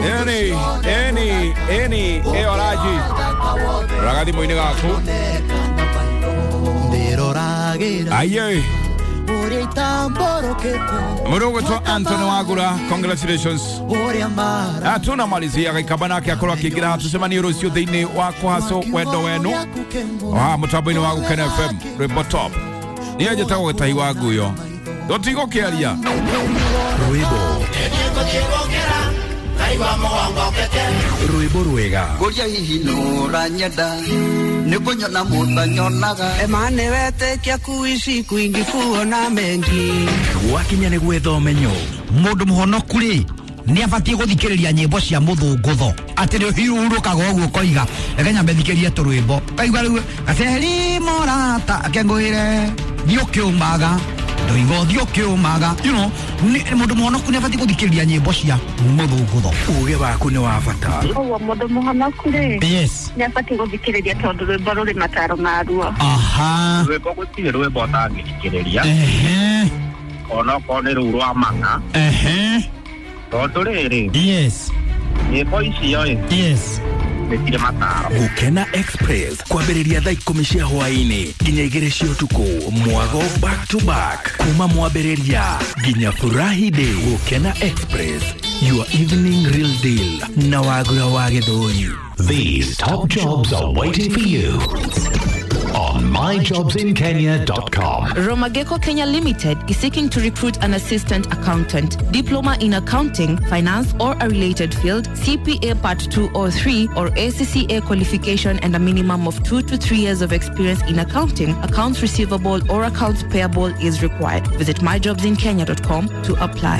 Eni eni eni eoraji ragathi moine gaku aye Murugo Anthony Wagura, congratulations. Tunamalizia gaikabanake akorwo akiingira tucemanie rucio thiini wa kuhaco wendo wenu wa mutambo-ini wa Gukena FM rwimbo top. Niĩ njĩtagwo Gĩtahi wa Nguyo, tũtigũkĩaria rwimbo rwimbo rwega Ngoria hihi nũranyenda nĩkũnyona mũtanyonaga Emane wetekia kuishi kwingi kuona mengi gwakinya nĩ gwetha ũmenyo Mundu muhonoku ri ni abatie guthikiriria nyimbo cia muthungutho ati ni hiurukaga uguo koiga reke nyambe thikiririe turwimbo kaigua riu gaceri morata akengwire thiĩ ũkĩũmaga ndoiga ũthiĩ ũkĩũmaga, you know, mundu muhonoku ni abatie guthikiriria nyimbo cia muthungutho. Uge waku nĩ wa bata. Ũguo mũndũ mũhonoku rĩ, yes, nĩ abatiĩ gũthikĩrĩria tondũ rwĩmbo rũrĩ mataro maruo. Aha, rwĩmbo gũtirĩ rwĩmbo ũtangĩthikĩrĩria. Ehe, onokorwo nĩ rũu rwa mang'a. Ehe, tondũ rĩrĩ, yes, nyĩmbo icio ĩ, yes, nĩ cirĩ mataro. Gukena Express kwambĩrĩria thaa 10 cia hwaĩ-inĩ nginya 2 cia ũtukũ, mwago back to back kuma mwambĩrĩria nginya furahi day. Gukena Express, your evening real deal na Wagura wa Gĩthũri. These top jobs are waiting for you on myjobsinkenya.com. Romageko Kenya Limited is seeking to recruit an assistant accountant, diploma in accounting, finance or a related field, CPA Part 2 or 3 or ACCA qualification and a minimum of 2 to 3 years of experience in accounting, accounts receivable or accounts payable is required. Visit myjobsinkenya.com to apply.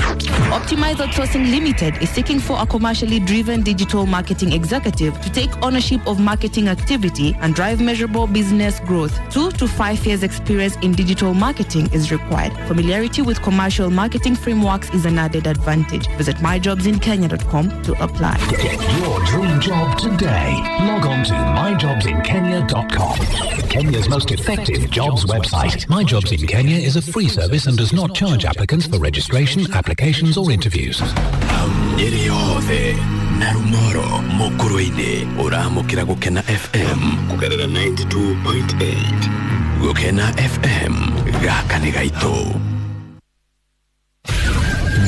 Optimize Outsourcing Limited is seeking for a commercially driven digital marketing executive to take ownership of marketing activity and drive measurable business growth. 2 to 5 years experience in digital marketing is required. Familiarity with commercial marketing frameworks is an added advantage. Visit myjobsinkenya.com to apply. Get your dream job today. Log on to myjobsinkenya.com. Kenya's most effective jobs website. My Jobs in Kenya is a free service and does not charge applicants for registration, applications or interviews. Nyeri yothe na Rumoro Mukurwe-inĩ ũramũkĩra Gukena FM kũgerera 92.8. Gukena FM gaka nĩ gaitũ.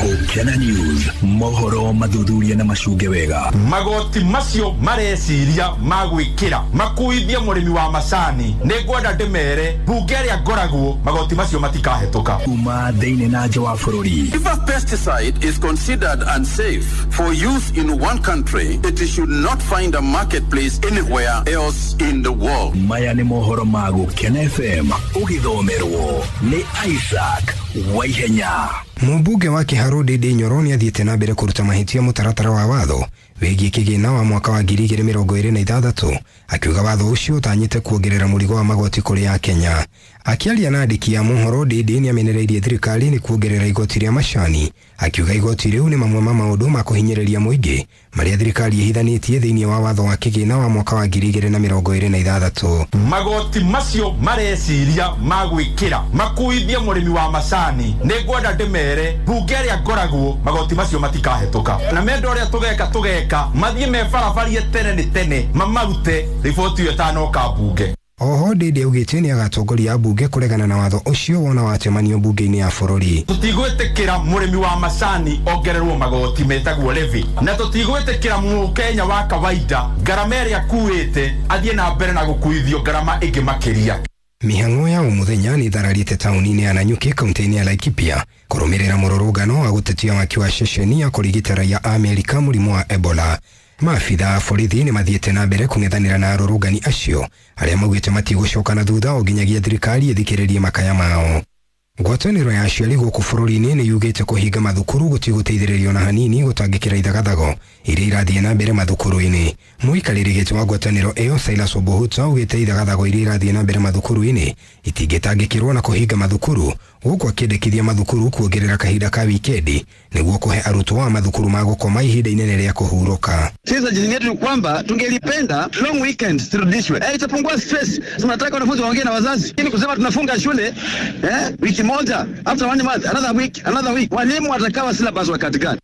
Gukena News, mohoro mathuthuria na macunge wega. Magoti macio mareciria magwikira makuithie mũrĩmi wa macani nĩ ngwenda ndĩmere mbunge ĩrĩa ngoragwo magoti macio matikahetũka. Kuma thĩinĩ na nja wa bũrũri. If a pesticide is considered unsafe for use in one country, it should not find a marketplace anywhere else in the world. Maya nĩ mohoro ma Gukena FM ũgĩthomerwo nĩ Isaac Waihenya. Mũmbunge wa Kiharu Ndindi Nyoro nĩ athiĩte na mbere kũruta mahĩtia mũtaratara wa watho wĩgiĩ kĩgĩna wa mwaka wa 2026 akiuga watho ũcio ũtanyĩte kuongerera mũrigo wa magoti kũrĩ Akenya. Akĩaria na andĩki a mohoro, Ndindi nĩ amenereirie thirikari nĩ kuongerera igoti rĩa macani, akiuga igoti rĩu nĩ mamwe ma maũndũ ma kũhinyĩrĩria mũingĩ marĩa thirikari ĩhithanĩtie thĩinĩ wa watho wa kĩgĩna wa mwaka wa 2026. Magoti macio mareciria magwikira makuithie mũrĩmi wa macani nĩ ngwenda ndĩmere mbunge ĩrĩa ngoragwo magoti macio matikahetũka na menda ũrĩa tũgeka mathiĩ mebarabarie tene nĩ tene mamarute riboti ĩyo ĩtanoka mbunge. Oho Ndindi augĩte nĩ agatongoria mbunge kũregana na watho ũcio wona wacemanio mbunge-inĩ ya bũrũri. Tũtigwĩtĩkĩra mũrĩmi wa macani ongererwo magoti metagwo levy, na tũtigwĩtĩkĩra mũkenya wa kawaida ngarama ĩrĩa akuĩte athiĩ na mbere na gũkuithio ngarama ĩngĩ makĩria. Mĩhang'o ya ũmũthenya nĩ ĩthararĩte taũni-inĩ ya Nanyuki kaunti-inĩ ya Laikipia kũrũmĩrĩra mũrũrũngano wa gũtetia waki wa ceceni ya kũrigita raia a Amerika mũrimũ wa Ebola. Maabitha a borithi nĩ mathiĩte na mbere kũng'ethanĩra na arũrũngani acio arĩa maugĩte matigũcoka na thutha o nginyagia thirikari ĩthikĩrĩrie makaya mao. Ngwatanĩro ya aciari gũkũ bũrũri-inĩ nĩ yugĩte kũhinga mathukuru gũtigũteithĩrĩrio na hanini gũtangĩkĩra ithagathago iria irathiĩ na mbere mathukuru-inĩ. Mũikarĩri gĩtĩ wa ngwatanĩro ĩyo Silas Obuhuta augĩte ithagathago iria irathiĩ na mbere mathukuru-inĩ itingĩtangĩkĩrwo na kũhinga mathukuru, gũkũ akĩendekithia mathukuru kuongerera kahinda ka wikendi nĩguo kũhe arutwo a mathukuru ma gũkoma ihinda inene rĩa kũhurũka. Sisi jini yetu ni kwamba tungelipenda long weekend zirudishwe. Itapungua stress. Tunataka wanafunzi waongee na wazazi. Ili kusema tunafunga shule wiki moja, after one month, another week, another week. Walimu watakawa syllabus wakati gani?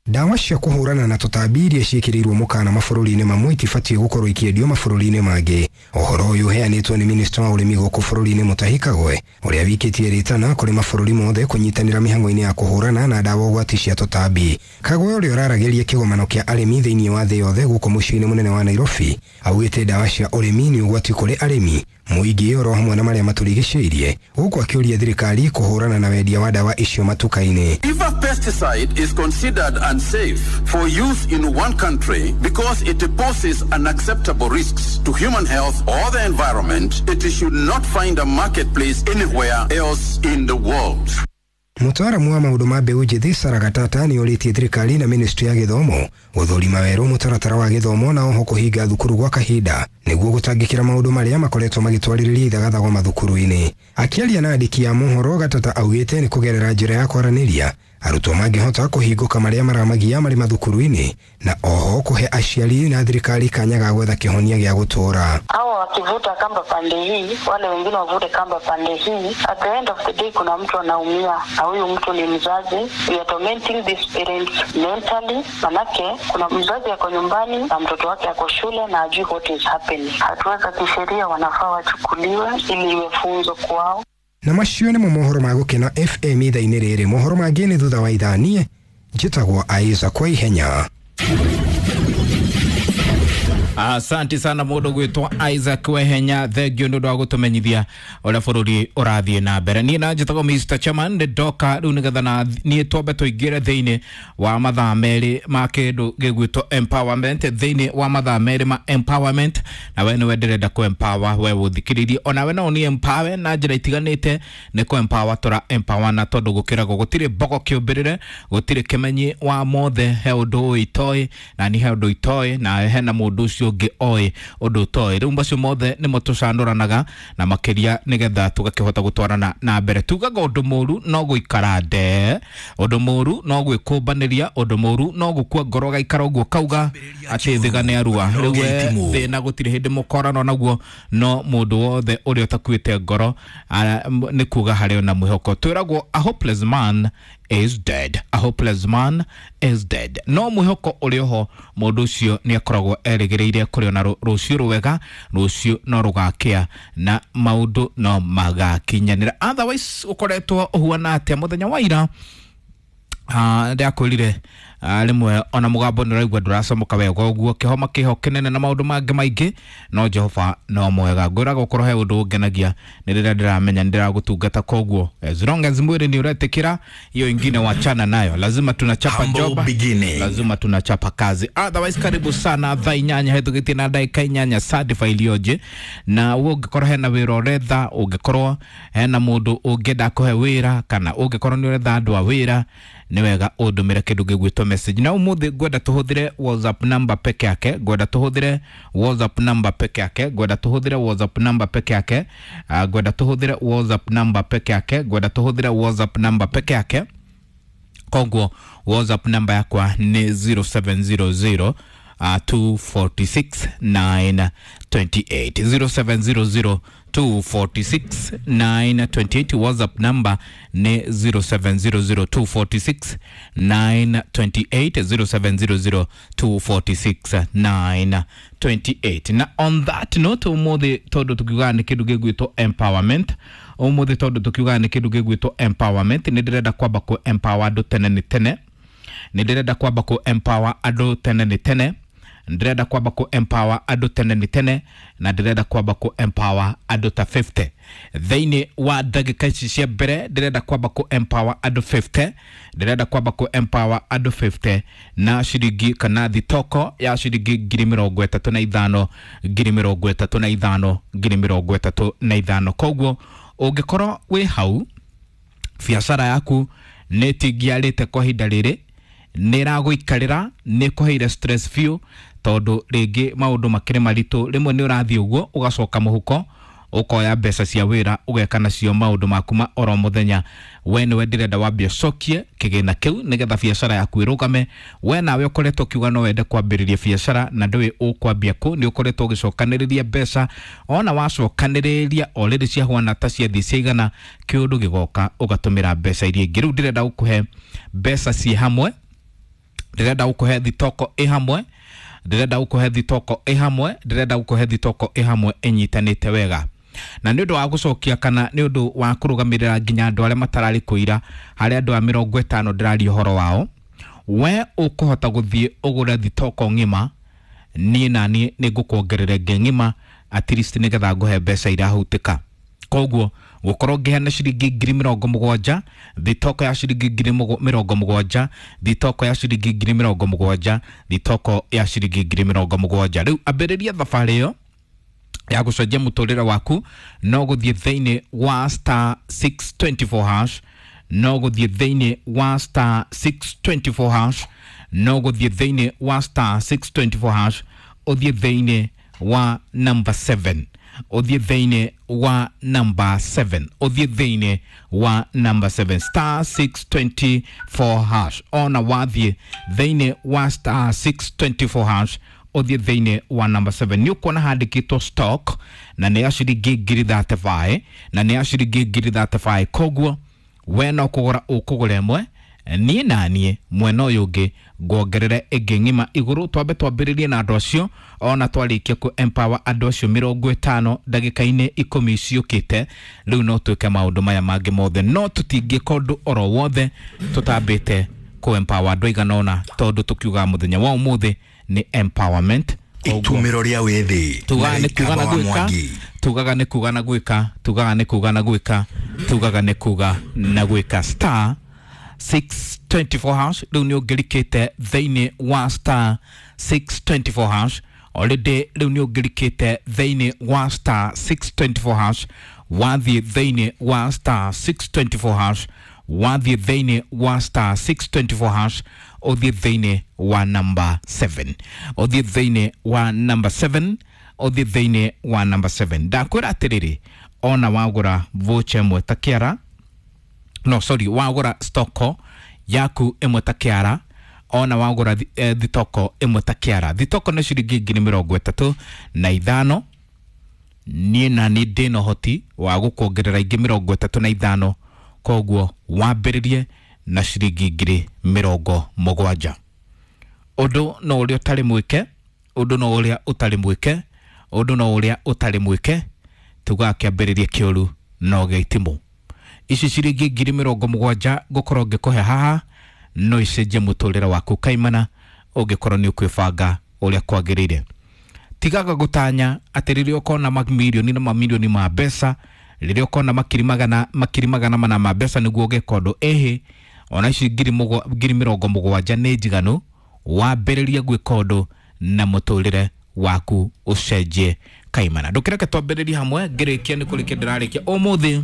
Ndawa cia kũhũrana na tũtambi iria ciĩkĩrĩirwo mũkana mabũrũri-inĩ mamwe itibatiĩ gũkorwo ikĩendio mabũrũri-inĩ mangĩ. Ũhoro ũyũ ũheanĩtwo nĩ minista wa ũrĩmi gũkũ bũrũri-inĩ Mutahi Kagwe, ũrĩa wikĩtie rĩtana kũrĩ mabũrũri mothe kũnyitanĩra mĩhang'o-inĩ ya kũhũrana na ndawa ũgwati cia tũtambi. Kagwe ũrĩa ũraragĩria kĩgomano kĩa arĩmi thĩinĩ wa thĩ yothe gũkũ mũciĩ-inĩ mũnene wa Nairobi augĩte ndawa cia ũrĩmi nĩ ũgwati kũrĩ arĩmi, mũingĩ oro hamwe na marĩa matũrigicĩirie, gũkũ akĩũria thirikari kũhũrana na wendia wa ndawa icio matuka-inĩ. If a pesticide is considered unsafe for use in one country because it poses unacceptable risks to human health or the environment, it should not find a marketplace anywhere else in the world. Mũtaaramu wa maũndũ ma mbeũ njĩthĩ Sarah Gatata nĩ orĩtie thirikari na ministry ya gĩthomo gũthũrima werũ mũtaratara wa gĩthomo na oho kũhinga thukuru gwa kahinda nĩguo gũtangĩkĩra maũndũ marĩa makoretwo magĩtwarĩrĩria ithagathago mathukuru-inĩ. Akĩaria na andĩki a mohoro, Gatata augĩte nĩ kũgerera njĩra ya kwaranĩria arutwo mangĩhota kũhingũka marĩa maramagia marĩ mathukuru-inĩ na oho kũhe aciari na thirikari kanya ga gwetha kĩhonia gĩa gũtũũra. Hawa wakivuta kamba pande hii, wale wengine wavute kamba pande hii. At the end of the day kuna mtu anaumia, na huyu mtu ni mzazi. We are tormenting these parents mentally, manake kuna mzazi ako nyumbani na mtoto wake ako shule na ajui what is happening. Hatua za kisheria wanafaa wachukuliwe ili iwe funzo kwao. Na macio nĩmo mohoro ma Gũkena FM ithaa-inĩ rĩrĩ. Mohoro mangĩ nĩ thutha wa ithaa. Niĩ njĩtagwo Isaac kwa ihenya. Asante sana mundu gwitwo Isaac Wehenya, thengio nĩ ũndũ wa gũtũmenyithia ũrĩa bũrũri ũrathiĩ na mbere. Niĩ na njĩtagwo Mr Chairman, nĩ ndoka rĩu nĩgetha na niĩ twambe tũingĩre thĩinĩ wa mathaa merĩ ma kĩndũ gĩgwĩtwo empowerment, thĩinĩ wa mathaa merĩ ma empowerment, na we nĩwe ndĩrenda kũ empower we ũthikĩrĩrie, onawe no ũni empower na njĩra itiganĩte. Nĩ kũ empower tũra empower na tondũ gũkĩragwo gũtirĩ mbogo kĩũmbĩrĩre, gũtirĩ kĩmenyi wa mothe, he ũndũ ũyũ itoĩ na ni he ũndũ itoĩ na hena mũndũ ũcio ũngĩ oĩ ũndũ ũtoĩ. Rĩu macio mothe nĩmo tũcanũranaga na makĩria nĩgetha tũgakĩhota gũtwarana na mbere. Tugaga ũndũ mũru no gũikara nde, ũndũ mũru no gwĩkũmbanĩria, ũndũ mũru no gũkua ngoro gaikara ũguo kauga atĩ thĩga nĩ arua. Rĩu we thĩna gũtirĩ hĩndĩ mũkorano naguo, no mũndũ wothe ũrĩa ũtakuĩte ngoro nĩ kuga harĩ ona mwĩhoko. Twĩragwo a hopeless man is dead, a hopeless man is dead. No mwĩhoko ũrĩ oho, mũndũ ũcio nĩ akoragwo erĩgĩrĩire kũrĩ ona rũciũ rwega, rũciũ no rũgakĩa na maũndũ no magakinyanĩra. Otherwise ũkoretwo ũhuana atĩa mũthenya wa ira? Ndakwĩrire rĩmwe ona mũgambo nĩ ũraigua ndũracomoka wega ũguo, kĩhoma kĩho kĩnene na maũndũ mangĩ maingĩ, no Jehova no mwega. Ngwĩraga ũkorwo he ũndũ ũngenagia nĩ rĩrĩa ndĩramenya nĩ ndĩragũtungata, koguo as long as mwĩrĩ nĩ ũretĩkĩra, hiyo ingine wachana nayo, lazima tunachapa job, lazima tunachapa kazi. Otherwise karibu sana thaa 8 hetũkĩtie na ndagĩka 8 certify ilioje. Na we ũngĩkorwo hena wĩra ũretha, ũngĩkorwo hena mũndũ ũngĩenda kũhe wĩra, kana ũngĩkorwo nĩ ũretha andũ a wĩra, nĩ wega ũndũmĩre kĩndũ gĩgwĩtwo message. Na ũmũthĩ ngwenda tũhũthĩre WhatsApp number peke yake, ngwenda tũhũthĩre WhatsApp number peke yake, ngwenda tũhũthĩre WhatsApp number peke yake, ngwenda tũhũthĩre WhatsApp number peke yake, ngwenda tũhũthĩre WhatsApp number peke yake. Koguo WhatsApp number yakwa nĩ 0700 246 928, 0700 246 928. WhatsApp number ni 0700 246 928, 0700 246 928. Na on that note, umuthi tondu tukiuga ni kindu gigwitwo empowerment, umuthi tondu tukiuga ni kindu gigwitwo empowerment, ni ndirenda kwamba ku empower andu tene ni tene, ni ndirenda kwamba ku empower andu tene ni tene, ndirenda kwamba ku empower andu tene ni tene, na ndirenda kwamba ku empower andu ta 50 thiini wa ndagika ici cia mbere. Ndirenda kwamba ku empower andu 50, ndirenda kwamba ku empower andu 50 na ciringi kana thitoko ya ciringi 35,000, 35,000, 35,000. Koguo ũngĩkorwo wĩ hau biacara yaku nĩ ĩtingiarĩte kwa ihinda rĩrĩ, nĩ ĩragũikarĩra, nĩ ĩkũheire stress biũ, tondũ rĩngĩ maũndũ makĩrĩ maritũ, rĩmwe nĩ ũrathiĩ ũguo ũgacoka mũhuko ũkoya mbeca cia wĩra ũgeka nacio maũndũ maku ma oro mũthenya. We nĩwe ndĩrenda wambie ũcokie kĩgĩna kĩu nĩgetha biacara yaku ĩrũgame. We nawe ũkoretwo ũkiuga no wende kwambĩrĩria biacara na ndũĩ ũkwambia kũ, nĩ ũkoretwo ũgĩcokanĩrĩria mbeca, ona wacokanĩrĩria o rĩrĩ ciahuana ta ciathiĩ ciaigana, kĩũndũ gĩgoka ũgatũmĩra mbeca iria ingĩ. Rĩu ndĩrenda gũkũhe mbeca ciĩ hamwe Ndĩrenda gũkũhe thitoko ĩ hamwe, ndĩrenda gũkũhe thitoko ĩ hamwe, ndĩrenda gũkũhe thitoko ĩ hamwe ĩnyitanĩte wega. Na nĩ ũndũ wa gũcokia kana nĩ ũndũ wa kũrũgamĩrĩra nginya andũ arĩa matararĩ kũira, harĩ andũ a 50 ndĩraria ũhoro wao, we ũkũhota gũthiĩ ũgũre thitoko ng'ima, niĩ na niĩ nĩ ngũkuongerera ĩngĩ ng'ima at least nĩgetha ngũhe mbeca irahutĩka. Koguo gũkorwo ngĩheana ciringi 70,000, thitoko ya ciringi 70,000, thitoko ya ciringi 70,000, thitoko ya ciringi 70,000. Rĩu ambĩrĩria thabarĩ ĩyo ya gũcenjia mũtũrĩre waku no gũthiĩ thĩinĩ wa star 624 hash, no gũthiĩ thĩinĩ wa star 624 hash, no gũthiĩ thĩinĩ wa star 624 hash, ũthiĩ thĩinĩ wa number 7, ũthiĩ thĩinĩ wa number 7, ũthiĩ thĩinĩ wa number 7, star 624 hash. Ona wathiĩ thĩinĩ wa star 624 hash, ũthiĩ thĩinĩ wa number 7, nĩ ũkuona handĩkĩtwo stock na nĩ ya ciringi 35,000, na nĩ ya ciringi 35,000. Koguo we no kũgũra ũkũgũra ĩmwe, niĩ na niĩ mwena ũyũ ũngĩ nguongerere ĩngĩ ng'ima igũrũ. Twambe twambĩrĩrie na andũ acio, ona twarĩkia kũ empower andũ acio 50 ndagĩka-inĩ 10 ciũkĩte, rĩu no twĩke maũndũ maya mangĩ mothe, no tũtingĩka ũndũ oro wothe tũtambĩte kũ empower andũ aigana ũna, tondũ tũkiugaga mũthenya wa ũmũthĩ nĩ empowerment. Itumĩro rĩa wĩthĩ tugaga nĩ kuga na gwĩka, tugaga nĩ kuga na gwĩka, tugaga nĩ kuga na gwĩka, tugaga nĩ kuga na gwĩka. Star 624 hash, rĩu nĩ ũngĩrikĩte thĩinĩ wa star 624 hash already, rĩu nĩ ũngĩrikĩte thĩinĩ wa star 624 hash, wathiĩ thĩinĩ wa star 624 hash, wathiĩ thĩinĩ wa star 624 hash, ũthiĩ thĩinĩ wa number 7, ũthiĩ thĩinĩ wa number 7, ũthiĩ thĩinĩ wa number 7. Ndakwĩra atĩrĩrĩ, ona wagũra voucher ĩmwe ta kĩara, no sorry, wagũra stoko yaku ĩmwe ta kĩara, ona wagũra thitoko ĩmwe ta kĩara, thitoko nĩ ciringi 35,000, niĩ na niĩ ndĩna ũhoti wa gũkuongerera ingĩ 35, koguo wambĩrĩrie na ciringi 70,000. Ũndũ no ũrĩa ũtarĩ mwĩke, ũndũ no ũrĩa ũtarĩ mwĩke, ũndũ no ũrĩa ũtarĩ mwĩke, tugaga kĩambĩrĩria kĩũru no gĩa itimũ. Ici ciringi 70,000 ngũkorwo ngĩkũhe haha no icenjie mũtũrĩre waku kaimana, ũngĩkorwo nĩ ũkwĩbanga ũrĩa kwagĩrĩire. Tigaga gũtanya atĩ rĩrĩa ũkona mamirioni na mamirioni ma mbeca, rĩrĩa ũkona makiri magana mana ma mbeca nĩguo ũgeka ũndũ. Ĩhĩ, ona ici 70,000 nĩ njiganu, wambĩrĩrie gwĩka ũndũ na mũtũrĩre waku ũcenjie kaimana. Ndũkĩreke twambĩrĩrie hamwe, ngĩrĩkia nĩ kũrĩkia ndĩrarĩkia ũmũthĩ.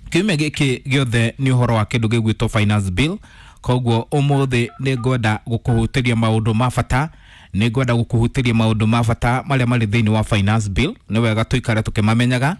Kiumia gĩkĩ gĩothe nĩ ũhoro wa kĩndũ gĩgwĩtwo finance bill, koguo ũmũthĩ nĩ ngwenda gũkũhutĩria maũndũ ma bata, nĩ ngwenda gũkũhutĩria maũndũ ma bata marĩa marĩ thĩinĩ wa finance bill. Nĩ wega tũikare tũkĩmamenyaga.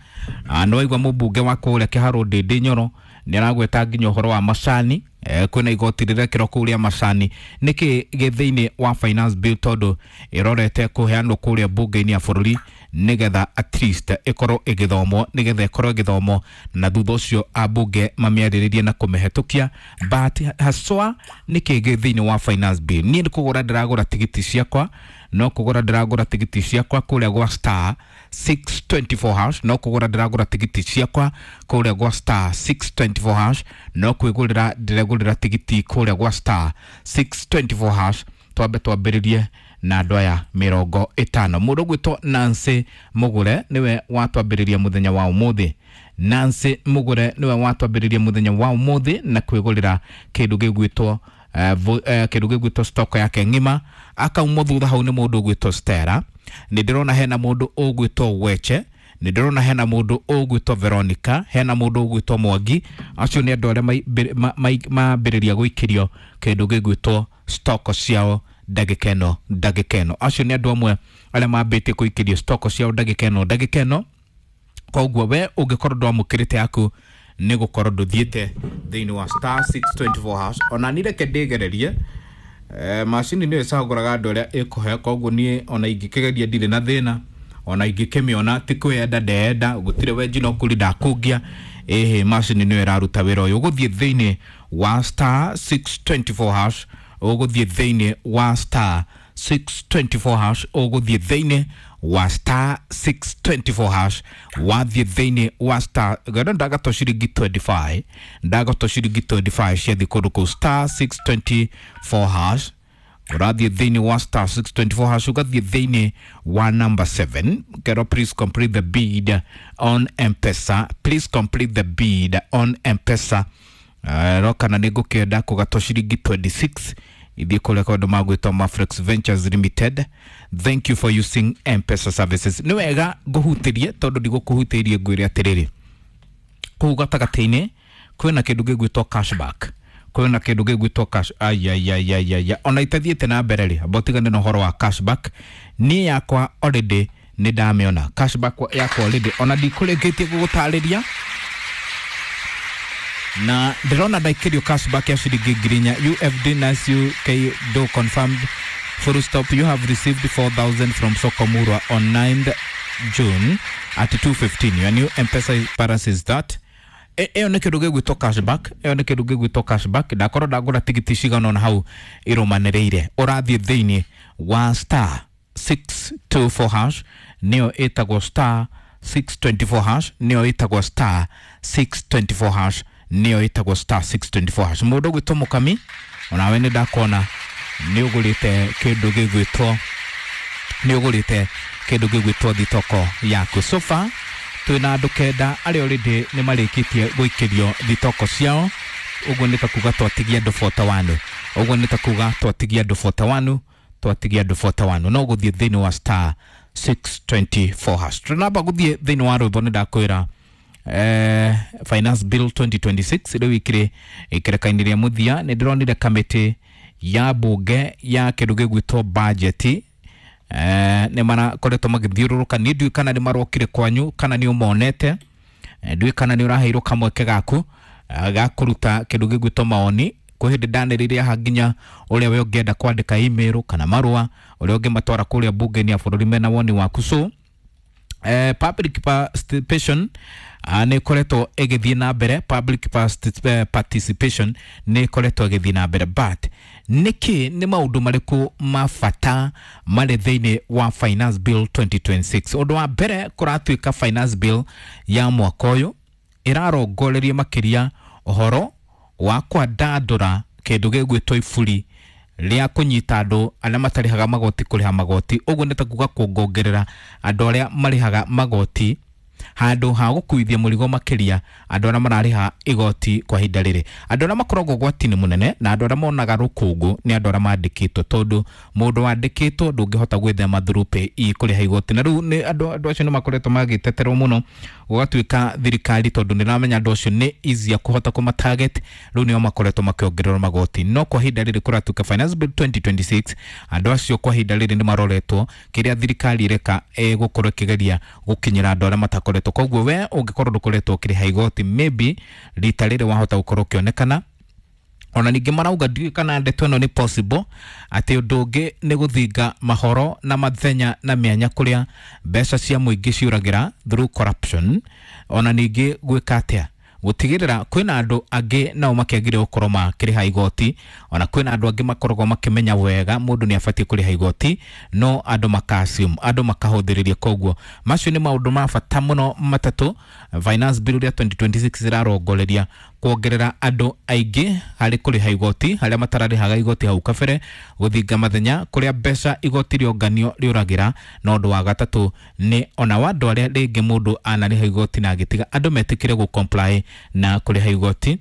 Nĩ waigua mũmbunge wa kũrĩa Kĩharũ Ndĩndĩ Nyoro nĩ aragweta nginya ũhoro wa macani, kwĩna igoti rĩrekĩrwo kũu rĩa macani. Nĩkĩ gĩ thĩinĩ wa finance bill, tondũ ĩrorete kũheanwo kũrĩa mbunge-inĩ ya bũrũri nĩgetha at least ĩkorwo ĩgĩthomwo, nĩgetha ĩkorwo ĩgĩthomwo na thutha ũcio ambunge mamĩarĩrĩrie na kũmĩhetũkia. But haswa nĩkĩ gĩ thĩinĩ wa finance bill? Niĩ nĩ kũgũra ndĩragũra tigiti ciakwa, no kũgũra ndĩragũra tigiti ciakwa kũrĩa gwa star 624 hash, no kũgũra ndĩragũra tigiti ciakwa kũrĩa gwa star 624 hash, no kwĩgũrĩra ndĩregũrĩra tigiti kũrĩa gwa star 624 hash. Twambe twambĩrĩrie na andũ aya 50. Mũndũ ũgwĩtwo Nancy Mũgũre nĩwe watwambĩrĩria mũthenya wa ũmũthĩ. Nancy Mũgũre nĩwe watwambĩrĩria mũthenya wa ũmũthĩ na kwĩgũrĩra kĩndũ gĩgwĩtwo kĩndũ gĩgwĩtwo stock yake ng'ima. Akaumwo thutha hau nĩ mũndũ ũgwĩtwo Stella, nĩ ndĩrona hena mũndũ ũgwĩtwo Weche, nĩ ndĩrona hena mũndũ ũgwĩtwo Veronica, hena mũndũ ũgwĩtwo Mwangi. Acio nĩ andũ arĩa mambĩrĩria gũikĩrio kĩndũ gĩgwĩtwo stock ciao ndagĩka ĩno, ndagĩka ĩno. Acio nĩ andũ amwe arĩa mambĩtie kũikĩrio stock ciao ndagĩka ĩno, ndagĩka ĩno. Koguo we ũngĩkorwo ndwamũkĩrĩte yaku nĩ gũkorwo ndũthiĩte thĩinĩ wa star 624 hash. Ona niĩ reke ndĩgererie, macini nĩyo ĩcagũraga andũ arĩa ĩkũhe, koguo niĩ ona ingĩkĩgeria ndirĩ na thĩna, ona ingĩkĩmĩona ti kwĩyenda ndeyenda, gũtirĩ wenji no kũri ndakũngia. Ĩhĩ, macini nĩyo ĩraruta wĩra ũyũ. Ũgũthiĩ thĩinĩ wa star 624 hash, Ũgũthiĩ thĩinĩ wa star 624 hash, ũgũthiĩ thĩinĩ wa star 624 hash, wathiĩ thĩinĩ wa star gano ndagatwo ciringi 25, ndagatwo ciringi 25 ciathiĩ kũndũ kũu star 624 hash. Ũrathiĩ thĩinĩ wa star 624 hash, ũgathiĩ thĩinĩ wa number 7 kero please complete the bid on M-Pesa, please complete the bid on M-Pesa. Ro kana nĩ ngũkĩenda kũgatwo ciringi 26 ithiĩ kũrĩa kaũndũ magwĩtwo Maflex Ventures Limited. Thank you for using M-Pesa services. Nĩ wega ngũhutĩrie tondũ ndigũkũhutĩirie ngwĩre atĩrĩrĩ, kũu gatagatĩ-inĩ kwĩna kĩndũ gĩgwĩtwo cashback, kwĩna kĩndũ gĩgwĩtwo cash ayayayaya ona itathiĩte na mbere rĩ, amba ũtigane na ũhoro wa cashback. Niĩ yakwa already nĩ ndamĩona cashback yakwa already, ona ndikũrĩkĩtie gũgũtarĩria na ndĩrona ndaikĩrio cashback ya ciringi 4,000. UFD Nasu K do confirmed full stop, you have received 4,000 from Sokomurwa on 9th June at 2:15. Your new M-Pesa balance is that. Ĩyo nĩ kĩndũ gĩgwĩtwo cashback, ĩyo nĩ kĩndũ gĩgwĩtwo cashback. Ndakorwo ndagũra tigiti cigana ũna hau irũmanĩrĩire. Ũrathiĩ thĩinĩ wa star 624 hash, nĩyo ĩtagwo star 624 hash, nĩyo ĩtagwo star 624 hash, nĩyo ĩtagwo star 624 hash. Mũndũ ũgwĩtwo Mũkami, onawe nĩ ndakuona nĩ ũgũrĩte kĩndũ gĩgwĩtwo, nĩ ũgũrĩte kĩndũ gĩgwĩtwo thitoko yaku. So far twĩna andũ 9 arĩa already nĩ marĩkĩtie gũikĩrio thitoko ciao. Ũguo nĩ ta kuga twatigia andũ 41, ũguo nĩ ta kuga twatigia andũ 41, twatigia andũ 41. No gũthiĩ thĩinĩ wa star 624 hash. Tũnamba gũthiĩ thĩinĩ wa rwĩmbo nĩ ndakwĩra Finance Bill 2026 rĩu ikĩrĩ ikereka-inĩ rĩa mũthia. Nĩ ndĩronire kamĩtĩ ya bunge ya kĩndũ gĩgwĩtwo budget nĩ marakoretwo magĩthiũrũrũka. Niĩ ndiũĩ kana nĩ marokire kwanyu kana nĩ ũmonete, ndiũĩ kana nĩ ũraheirwo kamweke gaku ga kũruta kĩndũ gĩgwĩtwo maoni. Kwĩ hĩndĩ ndanĩrĩire haha nginya ũrĩa we ũngĩenda kwandĩka email kana marũa ũrĩa ũngĩmatwara kũrĩa bunge-inĩ ya bũrũri mena woni waku. So public participation nĩ ĩkoretwo ĩgĩthiĩ na mbere, public participation nĩ ĩkoretwo ĩgĩthiĩ na mbere, but nĩkĩ nĩ maũndũ marĩkũ ma bata marĩ thĩinĩ wa Finance Bill 2026? Ũndũ wa mbere, kũratuĩka Finance Bill ya mwaka ũyũ ĩrarongoreria makĩria ũhoro wa kwandandũra kĩndũ gĩgwĩtwo iburi rĩa kũnyita andũ arĩa matarĩhaga magoti kũrĩha magoti. Ũguo nĩ ta kuga kuongongerera andũ arĩa marĩhaga magoti handũ ha gũkuithia mũrigo makĩria andũ arĩa mararĩha igoti kwa ihinda rĩrĩ. Andũ arĩa makoragwo ũgwati-inĩ mũnene na andũ arĩa monaga rũkũngũ nĩ andũ arĩa mandĩkĩtwo, tondũ mũndũ wandĩkĩtwo ndũngĩhota gwĩthema through PAYE kũrĩha igoti. Na rĩu nĩ andũ acio nĩ makoretwo magĩteterwo mũno, gũgatuĩka thirikari tondũ nĩ ĩramenya andũ acio nĩ easier kũhota kũma target, rĩu nĩo makoretwo makĩongererwo magoti. No kwa ihinda rĩrĩ kũratuĩka Finance Bill 2026 andũ acio kwa ihinda rĩrĩ nĩ maroretwo kĩrĩa thirikari ĩreka ĩgũkorwo ĩkĩgeria gũkinyĩra andũ arĩa matakoretwo. Koguo we ũngĩkorwo ndũkoretwo ũkĩrĩha igoti, maybe rita rĩrĩ wahota gũkorwo ũkĩonekana. Ona ningĩ marauga ndiũĩ kana ndeto ĩno nĩ possible, atĩ ũndũ ũngĩ nĩ gũthinga mahoro na mathenya na mĩanya kũrĩa mbeca cia mũingĩ ciũragĩra through corruption. Ona ningĩ gwĩka atĩa gũtigĩrĩra kwĩna andũ angĩ nao makĩagĩrĩire gũkorwo makĩrĩha igoti. Ona kwĩna andũ angĩ makoragwo makĩmenya wega mũndũ nĩ abatiĩ kũrĩha igoti, no andũ maka-assume, andũ makahũthĩrĩria. Koguo macio nĩ maũndũ ma bata mũno matatũ Finance Bill ya 2026 ĩrarongoreria kuongerera andũ aingĩ harĩ kũrĩha igoti harĩa matararĩhaga igoti hau kabere, gũthinga mathenya kũrĩa mbeca igoti rĩonganio rĩũragĩra, na ũndũ wa gatatũ nĩ ona wa andũ arĩa rĩngĩ mũndũ anarĩha igoti na agĩtiga andũ metĩkĩre gũ comply na kũrĩha igoti.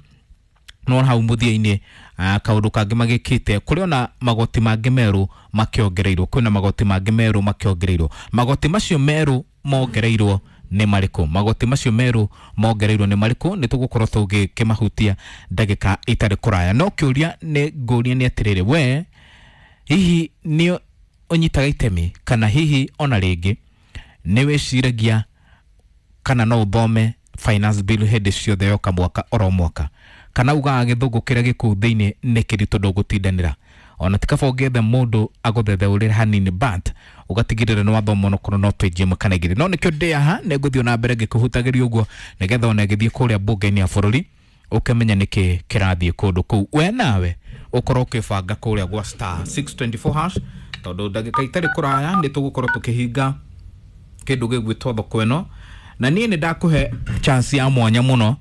No hau mũthia-inĩ kaũndũ kangĩ magĩkĩte kũrĩ ona magoti mangĩ merũ makĩongereirwo, kwĩna magoti mangĩ merũ makĩongereirwo. Magoti macio merũ mongereirwo nĩ marĩkũ? Magoti macio merũ mongereirwo nĩ marĩkũ? Nĩ tũgũkorwo tũgĩkĩmahutia ndagĩka itarĩ kũraya. No kĩũria nĩ ngũria nĩ atĩrĩrĩ, we hihi nĩ ũnyitaga itemi kana hihi ona rĩngĩ nĩ wĩciragia kana no ũthome Finance Bill hĩndĩ ciothe yoka mwaka oro mwaka, kana ugaga gĩthũngũ kĩrĩa gĩkũu thĩinĩ nĩ kĩritũ ndũgũtindanĩra? Ona ti kaba ũngĩetha mũndũ agũthetheũrĩre hanini, but ũgatigĩrĩra nĩ wathoma onokorwo no page ĩmwe kana igĩrĩ. No nĩkĩo ndĩ haha, nĩ ngũthiĩ ona mbere ngĩkũhutagĩria ũguo nĩgetha ona ĩgĩthiĩ kũrĩa mbunge-inĩ ya bũrũri ũkĩmenya nĩkĩ kĩrathiĩ kũndũ kũu. We nawe Ũkorwo ũkĩbanga kũrĩa gwa star 624 hash, tondũ ndagĩka itarĩ kũraya nĩ tũgũkorwo tũkĩhinga kĩndũ gĩgwĩtwo thoko ĩno, na niĩ nĩ ndakũhe chance ya mwanya mũno,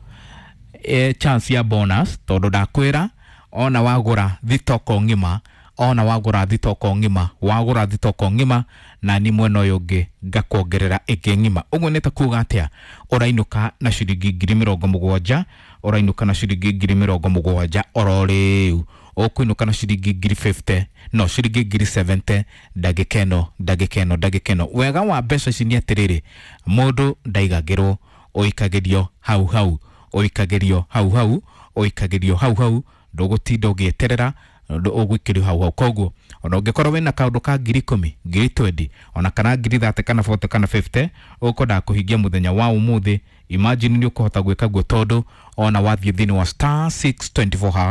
chance ya bonus, tondũ ndakwĩra ona wagũra thitoko ng'ima, ona wagũra thitoko ng'ima, wagũra thitoko ng'ima, na ni mwena ũyũ ũngĩ ngakuongerera ĩngĩ ng'ima. Ũguo nĩ ta kuga atĩa? Ũrainũka na ciringi 70,000, ũrainũka na ciringi 70,000 oro rĩu, ũkũinũka na ciringi 50,000, no ciringi 70,000 ndagĩka ĩno, ndagĩka ĩno, ndagĩka ĩno. Wega wa mbeca ici nĩ atĩrĩrĩ, mũndũ ndaigagĩrwo, ũikagĩrio hau hau, ũikagĩrio hau hau, ũikagĩrio hau hau, ndũgũtinda ũgĩeterera, ũgũikĩrio hau hau. Koguo ona ũngĩkorwo wĩna kaũndũ ka 10,000, 20,000, ona kana 30,000 kana 40 kana 50 ũkwendaga kũhingia mũthenya wa ũmũthĩ, imagine nĩ ũkũhota gwĩka guo, tondũ ona wathiĩ thĩinĩ wa star 624 hash.